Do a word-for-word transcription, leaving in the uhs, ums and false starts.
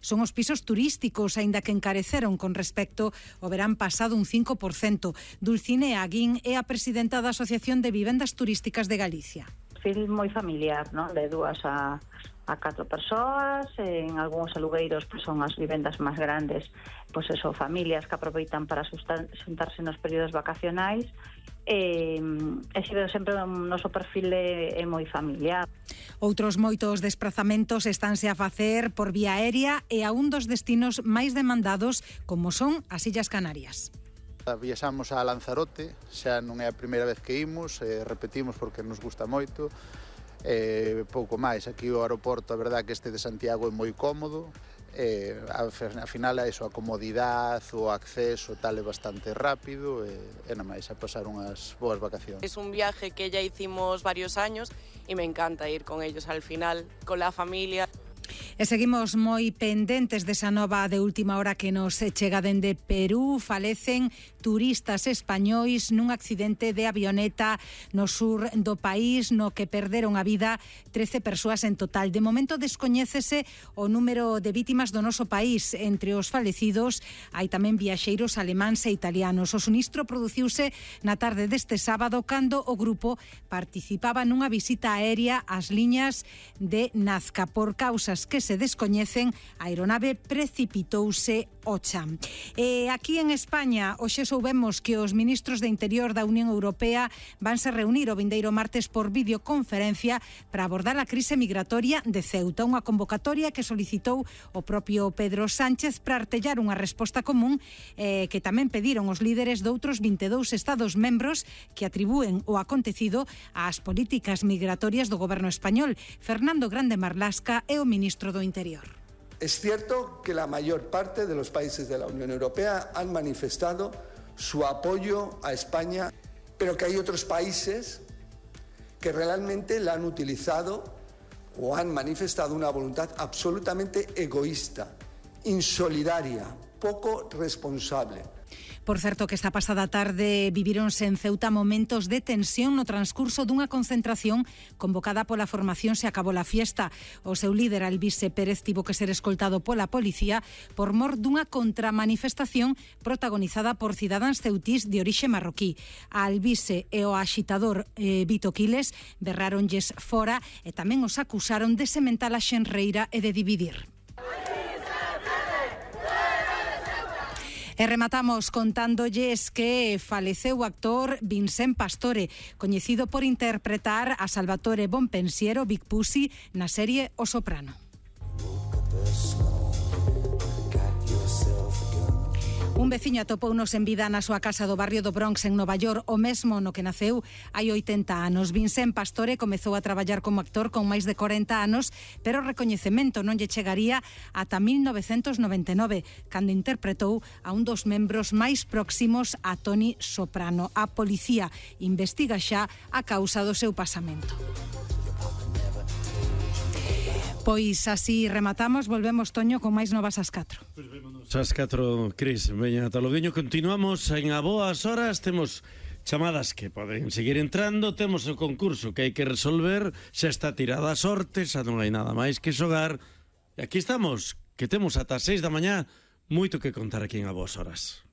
son os pisos turísticos, aínda que encareceron con respecto ao verán pasado un cinco por cento. Dulcinea Aguín é a presidenta da Asociación de Vivendas Turísticas de Galicia. Perfil moi familiar, non? De dúas a, a catro persoas, en algúns alugueiros pues, son as vivendas máis grandes, pois pues eso, familias que aproveitan para xuntarse nos períodos vacacionais, e, e sempre o noso perfil é, é moi familiar. Outros moitos desprazamentos estánse a facer por vía aérea e a un dos destinos máis demandados como son as Illas Canarias. Viaxamos a Lanzarote, xa non é a primeira vez que imos, eh, repetimos porque nos gusta moito, eh, pouco máis. Aquí o aeroporto, a verdade que este de Santiago é moi cómodo, eh, a final é iso, a comodidade, o acceso tal é bastante rápido e, e nada máis, a pasar unhas boas vacacións. Es un viaje que ya hicimos varios años y me encanta ir con ellos al final, con la familia. E seguimos moi pendentes desa nova de última hora que nos chega dende Perú. Falecen turistas españois nun accidente de avioneta no sur do país, no que perderon a vida trece persoas en total. De momento descoñécese o número de vítimas do noso país. Entre os falecidos hai tamén viaxeiros alemáns e italianos. O sinistro produciuse na tarde deste sábado cando o grupo participaba nunha visita aérea ás liñas de Nazca. Por causas que se descoñecen, a aeronave precipitouse ao chan. E aquí en España, hoxe soubemos que os ministros de Interior da Unión Europea vanse reunir o vindeiro martes por videoconferencia para abordar a crise migratoria de Ceuta, unha convocatoria que solicitou o propio Pedro Sánchez para artellar unha resposta común eh, que tamén pediron os líderes de outros vinte e dous estados membros que atribúen o acontecido ás políticas migratorias do goberno español. Fernando Grande Marlasca é o ministro do Interior. Es cierto que la mayor parte de los países de la Unión Europea han manifestado su apoyo a España, pero que hay otros países que realmente la han utilizado o han manifestado una voluntad absolutamente egoísta, insolidaria, poco responsable. Por certo que esta pasada tarde vivíronse en Ceuta momentos de tensión no transcurso dunha concentración convocada pola formación Se Acabou la Fiesta. O seu líder, Albise Pérez, tivo que ser escoltado pola policía por mor dunha contramanifestación protagonizada por cidadáns ceutís de orixe marroquí. A Albise e o axitador eh, Vito Quiles berráronlles fora e tamén os acusaron de sementar a xenreira e de dividir. E rematamos contándolles que faleceu o actor Vincent Pastore, coñecido por interpretar a Salvatore Bonpensiero, Big Pussy, na serie O Soprano. Un veciño atopounos en vida na súa casa do barrio do Bronx en Nova York, o mesmo no que naceu hai oitenta anos. Vincent Pastore comezou a traballar como actor con máis de corenta anos, pero o recoñecemento non lle chegaría ata mil novecentos noventa e nove, cando interpretou a un dos membros máis próximos a Tony Soprano. A policía investiga xa a causa do seu pasamento. Pois así rematamos, volvemos, Toño, con máis novas ás catro. Pois vémonos ás catro, Cris. Veña, ata logueño, continuamos en a boas horas. Temos chamadas que poden seguir entrando, temos o concurso que hai que resolver, xa está tirada a sorte, xa non hai nada máis que xogar. E aquí estamos, que temos ata seis da mañá, moito que contar aquí en a boas horas.